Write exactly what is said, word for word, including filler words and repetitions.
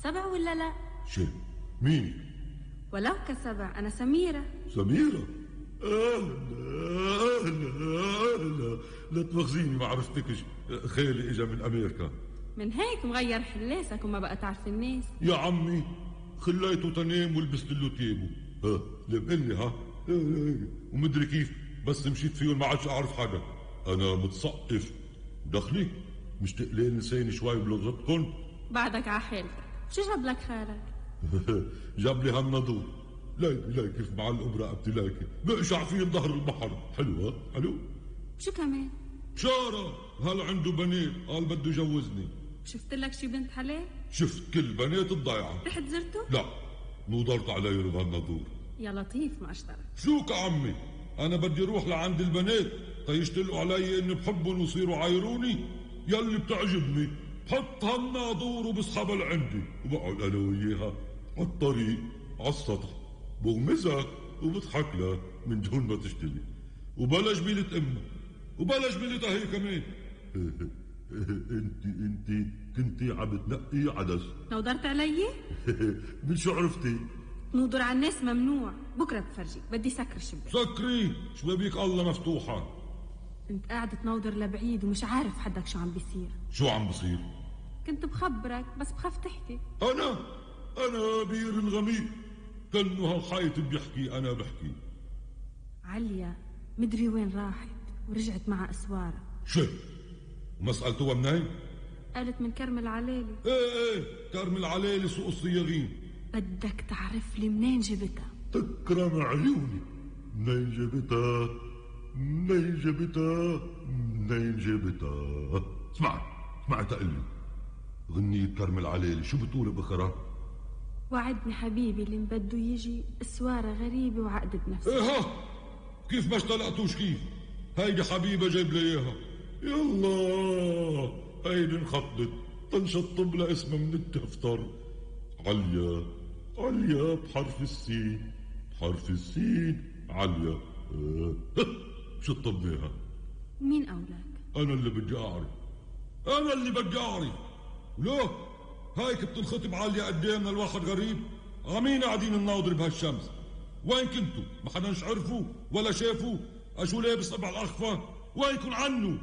سبع ولا لا؟ شو؟ مين؟ ولو كسبع، أنا سميرة. سميرة؟ أهلا أهلا أهلا، لا تمخزيني ما عرفتكش، خالي إجا من أمريكا. من هيك مغير حلاسك وما بقى تعرف الناس. يا عمي خليته تنام ولبست له تيابه، ها لبقلي ها ومدري كيف بس مشيت فيهم ما عادش أعرف حدا. أنا متسقف دخلي مش تقلين لساني شوي بلغتكن. بعدك عحالتك، شو جاب لك خالك؟ جاب لي هالنضور، لايكي لايكي كيف معلقه برقبتي، لايكي بقشع فيه ظهر البحر. حلو ها حلو. شو كمان؟ شارة هل عنده بنات قال بده يجوزني. شفت لك شي بنت حلال؟ شفت كل بنات الضيعة. رحت زرته؟ لا نوضرت علي بهالنضور. يا لطيف ما اشترك. شو كعمي انا بدي اروح لعند البنات تيشتلقوا علي اني بحبهم ويصيروا عايروني؟ يلي بتعجبني بحط هالناظور وبسحبها لعندي وبقعد انا وياها عالطريق عالسطح بغمزها وبضحك لها من دون ما تشتري وبلا جميلة امها وبلا جميلتها هي كمان. انت انت كنتي عم تنقي عدس. نودرت علي؟ من شو عرفتي؟ نودر على الناس ممنوع، بكره بفرجيك، بدي سكر الشباك. سكري شبابيك الله مفتوحة. كنت قاعد تنودر لبعيد ومش عارف حدك شو عم بيصير. شو عم بصير؟ كنت بخبرك بس بخاف تحكي. أنا أنا بير الغميق كأنه هالحيط بيحكي أنا بحكي. عليا مدري وين راحت ورجعت مع أسوارة. شو؟ وما سألتوها منين؟ قالت من كرم العلالي. ايه ايه كرم العلالي سوق الصياغين. بدك تعرف لي منين جبتها؟ تكرم عيوني. منين جبتها؟ منين جبتها؟ منين جبتها؟ اسمعي اسمعي تقلي غنية كرم العلالي شو بتقول بخرا؟ وعدني حبيبي اللي بده يجي اسوارة غريبة وعقد بنفسه. ايه ها كيف ما اشتلقتوش كيف؟ هيدي حبيبة جايب لي اياها. يلا هيدي انخطت تنشطب لها اسمها من الدفتر. عليا عليا بحرف السين بحرف السين عليا. اه. شطبناها. مين أولاك؟ أنا اللي بدي أعرف أنا اللي بدي أعرف. ولو هيك بتنخطب عليا قدامنا الواحد غريب عمين قاعدين نناظر بهالشمس. وين كنتوا؟ ما حدا عرفوا ولا شافوا؟ أشو لابس أبع الأخفى؟ وينكن عنه؟